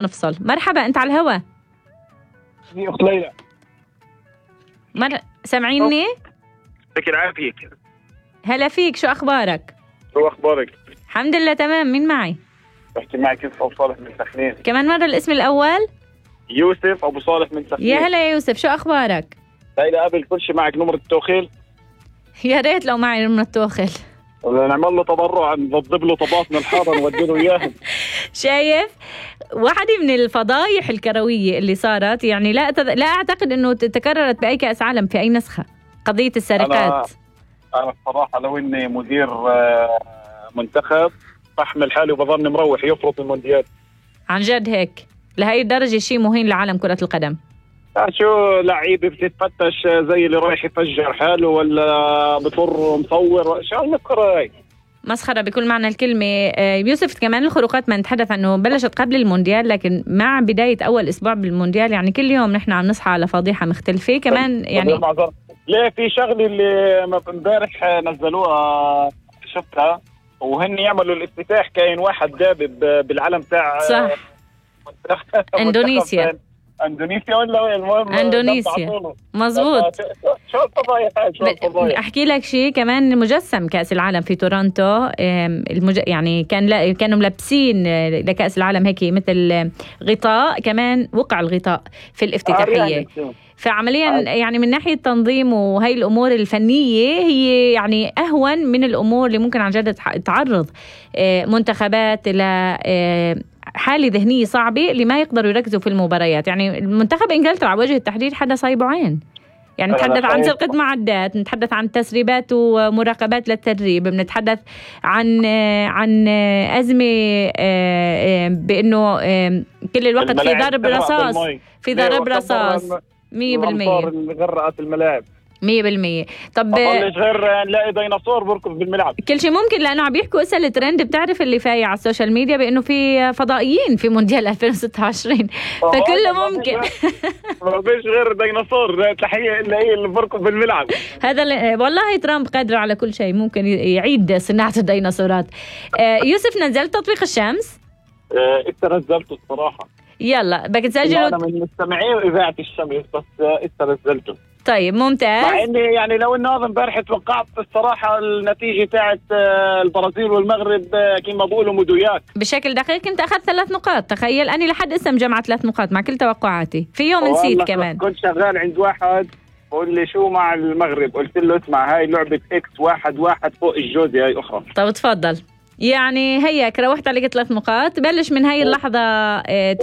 نفصل. مرحبا، انت على الهوا. اخت ليلى. سامعيني؟ يعطيك العافية. هلا فيك، شو اخبارك؟ شو اخبارك؟ الحمد لله تمام. مين معي؟ بحكي معك يوسف ابو صالح من سخنين. كمان مرة الاسم الاول؟ يوسف ابو صالح من سخنين. يا هلا يا يوسف، شو اخبارك؟ ليلى قبل كل شيء معك نمرة التوخيل؟ يا ريت لو معي نمرة التوخيل. نعمل له تبرع، نضب له طباطن الحاره نودي له اياها. شايف؟ واحدة من الفضايح الكروية اللي صارت، يعني لا اعتقد انه تكررت باي كأس عالم في اي نسخة، قضية السرقات. انا الصراحة لو اني مدير منتخب بحمل حالي وبظن مروح يفرط المونديال. عن جد هيك؟ لهي الدرجة شيء مهين لعالم كرة القدم. شو لعيبة بتتفتش زي اللي رايح يفجر حاله ولا بطر مصور، شو المسخرة هاي؟ مسخرة بكل معنى الكلمة. يوسف، كمان الخروقات ما نتحدث عنه بلشت قبل المونديال، لكن مع بداية أول أسبوع بالمونديال يعني كل يوم نحن عم نصحى على فضيحة مختلفة. كمان يعني ليه في شغلة اللي امبارح نزلوها شفتها، وهن يعملوا الافتتاح كاين واحد دابب بالعلم تاع صح اندونيسيا ولا وين؟ المهم اندونيسيا. مزبوط. شو الفضايح هاي؟ احكي لك شيء كمان. مجسم كأس العالم في تورونتو، يعني كانوا ملبسين لكأس العالم هيك مثل غطاء، كمان وقع الغطاء في الافتتاحية. فعمليا يعني من ناحية تنظيم وهي الأمور الفنية هي يعني أهون من الأمور اللي ممكن عن جد تعرض منتخبات إلى حالة ذهنية صعبة اللي ما يقدروا يركزوا في المباريات. يعني المنتخب إنجلترا على وجه التحديد حدا صايبه عين. يعني نتحدث عن سرقة معدات، نتحدث عن تسريبات ومراقبات للتدريب، بنتحدث عن أزمة بأنه كل الوقت في ضرب رصاص 100%. اللي غرقت الملاعب 100%. طب مش غير نلاقي ديناصور بركض بالملعب. كل شيء ممكن، لانه عم بيحكوا اسال الترند. بتعرف اللي فايع على السوشيال ميديا بانه في فضائيين في مونديال 2026، فكله ممكن. ما فيش غير ديناصور تحيه الا هي اللي بركض بالملعب. هذا والله ترامب قادر على كل شيء، ممكن يعيد صناعه الديناصورات. يوسف، نزلت تطبيق الشمس؟ نزلته الصراحه. يلا بدك تسجله. انا من مستمعين اذاعه الشمس، بس نزلته. طيب ممتاز. مع اني يعني لو انه هذا امبارح توقعت الصراحه النتيجه تاعت البرازيل والمغرب كما بقولوا مدويات بشكل دقيق. كنت اخذت 3 نقاط، تخيل. اني لحد اسا مجمعة 3 نقاط مع كل توقعاتي. في يوم نسيت كمان. كنت شغال عند واحد بقول لي شو مع المغرب، قلت له اسمع هاي لعبه اكس 1-1 فوق الجوزي هاي اخرى. طب تفضل. يعني هيك روحت عليك 3 نقاط. بلش من هاي اللحظه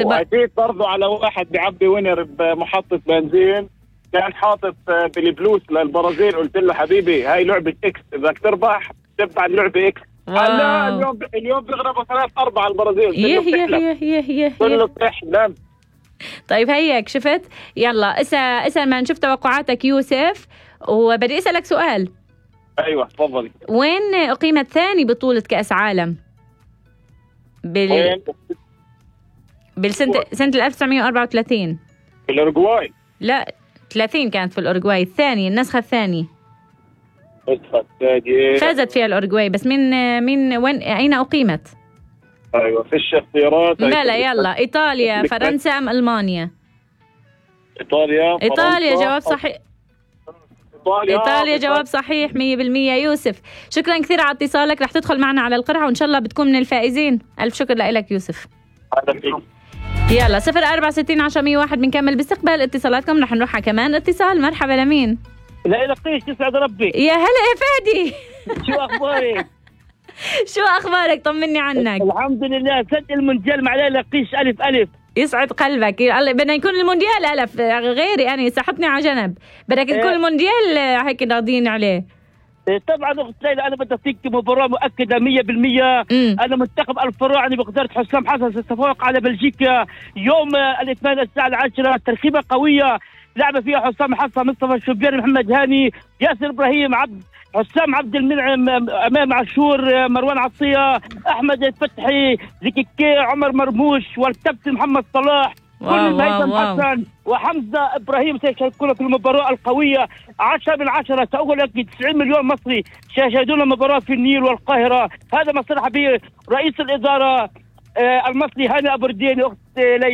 وعديت برضه على واحد بيعبي وينر بمحطه بنزين، كان حاطط بالبلوس للبرازيل. قلت له حبيبي هاي لعبة اكس، اذا تربح تبع اللعبة اكس. لا اليوم بيغربوا 3-4 البرازيل. كله بتحلم. طيب هيك شفت. يلا اسأل ما نشوف توقعاتك يوسف، وبدي اسألك سؤال. ايوه تفضلي. وين اقيمت ثاني بطولة كأس عالم؟ بالسنة 1934. في الأورجواي. لا 30 كانت في الأورجواي. النسخة الثانية فازت فيها الأورجواي، بس من وين أين أقيمت؟ أيوة فيش اختيارات. لا يلا إيطاليا، فرنسا أم ألمانيا؟ إيطاليا جواب صحيح. إيطاليا جواب صحيح 100%. يوسف شكرا كثير على اتصالك، رح تدخل معنا على القرعة وإن شاء الله بتكون من الفائزين. ألف شكر لك يوسف. يلا 0460 بنكمل باستقبال اتصالاتكم. رح نروح كمان اتصال. مرحبا لمين؟ لا لقيش يسعد ربك. يا هلا يا فادي. شو اخبارك؟ شو اخبارك؟ طمني عنك. الحمد لله. سد المونديال مع لا لقيش ألف. يسعد قلبك. بدنا يكون المونديال ألف، غيري أنا سحبني على جنب. بدك يكون المونديال هيك راضيين عليه. طبعا اخت ليلى انا بدي اعطيك مباراه مؤكده 100%. انا منتخب الفراعنه بقدره حسام حسن سيتفوق على بلجيكا يوم الاثنين الساعه 10. تركيبه قويه لعب فيها حسام حسن، مصطفى الشوبير، محمد هاني، ياسر ابراهيم، حسام عبد المنعم، امام عاشور، مروان عطيه، احمد الفتحي، زكيكي، عمر مرموش، والكابتن محمد صلاح، كل هيثم حسن وحمزه ابراهيم سيشاركون في المباراه القويه. 10 من 10. سأقول لك 90 مليون مصري سيشاهدون المباراه في النيل والقاهره. هذا ما صرح به رئيس الاداره المصري هاني ابو ردين اخت ليلى.